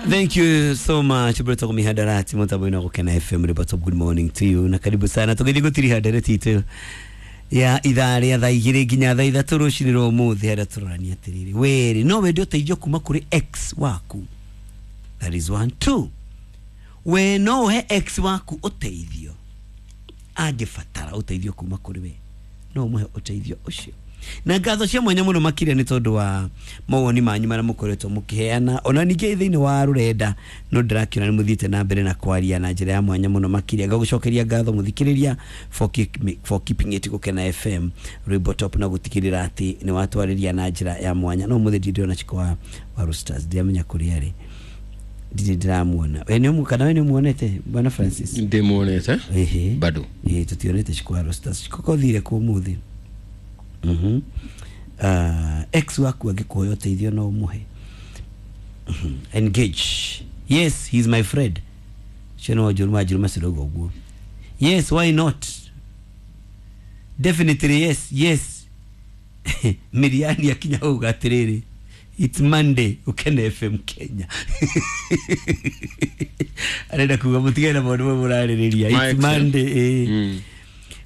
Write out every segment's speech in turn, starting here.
Thank you so much Brother Mihadarati mutambo Gukena FM Ribotop, good morning to you na karibu sana tugithii gutiriha ndereti itu ya ithaa ria thaa igiri nginya thaa ithatu rucini rwa umuthi haria turorania atiriri weri no wende uteithio kuma kuri ex waku. That is 1 2. We no uhe ex waku uteithio angibatara uteithio kuma kuri we no umuhe uteithio ucio. Na ngatho cia mwanya muno makiria ni tondu wa mawoni manyu maria mukoretwo mukiheana ona ningi thiini wa rurenda no ndirakiona ni muthiite na mbere na kwaria na njira ya mwanya muno makiria. Ngagucokeria ngatho muthikiriria for keeping it Gukena FM Rwimbo Top na gutikirira ati ni watwariria na njira ya mwanya. No muthi ndirona Chiko wa Roosters ndiamenya kuria ari ndiri ndiramuona. We ni kana we ni muonete bwana Francis? Ndimuonete ehe bado tutionete Chiko wa Roosters. Chiko kothire ku muthi. Ex waku angikuhoya uteithio no umuhe. Engage. Yes, he's my friend. Cheno wajuruma ajuruma sirogo uguo. Yes, why not? Definitely yes, yes. Miriani akinya uga atiriri. It's Monday, Gukena FM Kenya. Arenda kuga mutigane na maundu muraririria. It's Monday.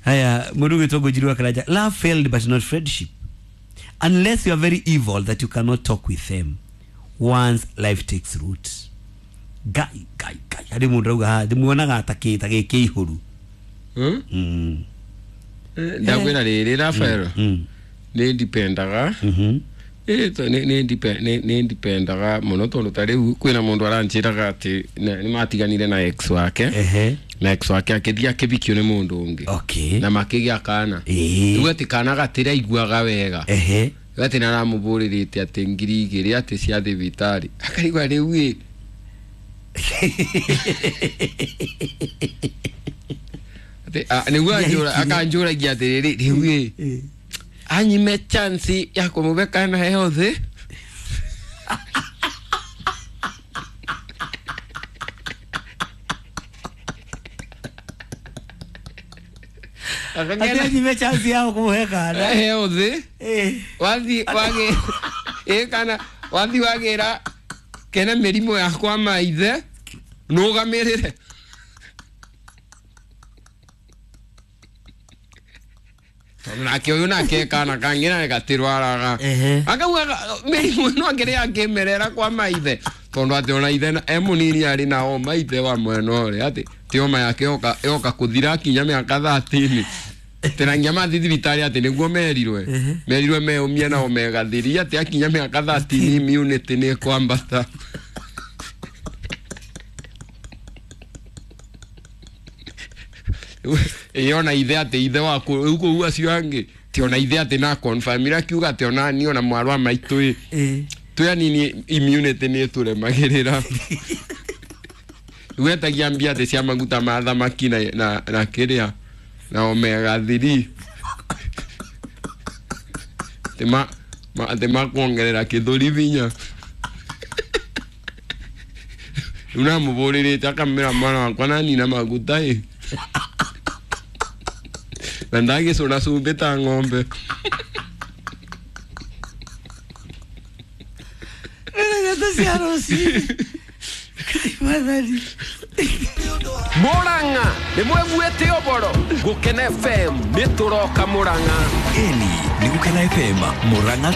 Haya, murugi tongo jirua karaja. Love failed but not friendship. Unless you are very evil that you cannot talk with them once life takes root. Guy guy guy. Hadi mundu rauga ha, ndimuonaga ataki ta giki ihuru. Ndakwira riri Rafael. Ni ndipendaga. Ni ndipendaga muno tondu ta riu kwina mundu aranjiraga ati ni matiganire na ex wake. Na ex wake akithia akibikio ni mundu ungi. Okay. Na makigia kana. Riu ati kana gatiraiguaga wega. Riu ati naramuburirite ati 2,000 ati cia thibitari. Akarigwa riu ĩ. Ati niguo anjura akanjuragia atiriri riu ĩ. Anyime chance ya kumube kana healthy. Ati anyime chance ya kumube kana healthy. Wathi wage kana wathi wagira kena mirimu ya kwa maithe nugamirire. Nake uyu nake kana kangira gatirwaraga akauga mirimu no angire angimerera kwa maithe tondu ati ona ithe e munini ari nao maithe wa mwena uri ati ti oma yake yoka kuthira kinya miaka 30 tena mathi thibitari ati niguo merirwe meumia na omega 3 ati akinya miaka 30 immunity ni kwambata. Iona ithe ati ithe waku riu kuu acio angi ti ona ithe ati na confirm ira kiuga ati ona ni ona mwarwa maitu twi anini immunity ni turemagirira. Wetagia mbia ati cia maguta ma thamaki na kiria na omega 3 ati makuongerera kithuri binya. Riu namuburirite akamwira mwana wakwa nanina maguta ĩ na ndagicũna cumbĩ ta ng'ombe. Murang'a nĩ mweguĩte ũboro Gukena FM nĩ tũroka Murang'a. Eni ni Gukena FM Murang'a.